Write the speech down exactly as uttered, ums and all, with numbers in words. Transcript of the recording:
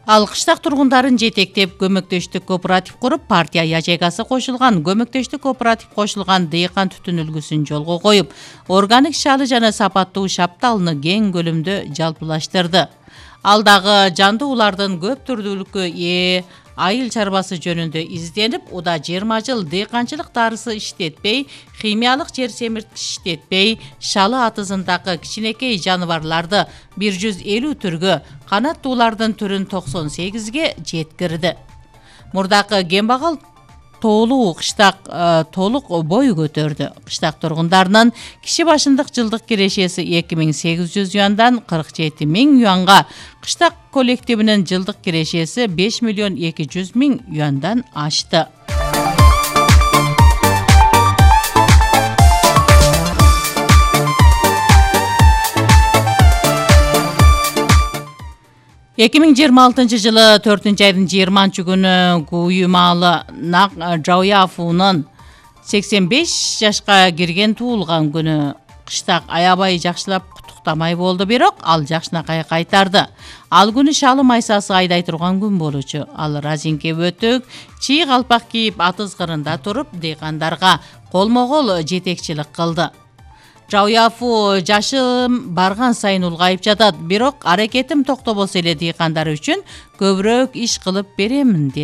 Ал кыштак тургундарын жетектеп көмөктөштүк кооператив куруп, партия ячейкасы кошулган, көмөктөштүк кооператив кошулган дыйкан түтүн үлгүсүн жолго коюп, органик шалы жана сапаттуу шапталны кең көлөмдө жалпылаштырды. Ал дагы жандуулардын көп түрдүүлүккө ээ айыл чарбасы жөнүндө изденип, уда жыйырма жыл дыйканчылык дарысы иштетпей, химиялык жер семирткич иштетпей, шалы атызындагы кичинекей жаныбарларды бир жүз элүү түргө, канаттуулардын түрүн токсон сегизге жеткирди. Мурдакы кембагал тоолуу кыштак толук бой көтөрдү. Кыштак тургундарынын киши башындык жылдык кирешеси эки миң сегиз жүз юандан кырк жети миң юанга, кыштак коллективинин жылдык кирешеси беш миллион эки жүз миң юандан ашты. эки миң жыйырма алтынчы жылы төртүнчү айдын жыйырманчы күнү Куюмалы Нак Жауяфунун сексен беш жашка кирген туулган күнү. Кыштак аябай жакшылап куттуктамай болду, бирок ал жакшынакай кайтарды. Ал күнү шалы майсасы айдай турган күн болчу. Ал разинке бөтөк, чий калпак кийип атыз кырында туруп, дыйкандарга колмо-кол жетекчилик кылды. Жауяфу жашым барган сайын улгайып жатат, бирок аракетим токтобосо эле дыйкандар үчүн көбүрөөк иш кылып беремин деди.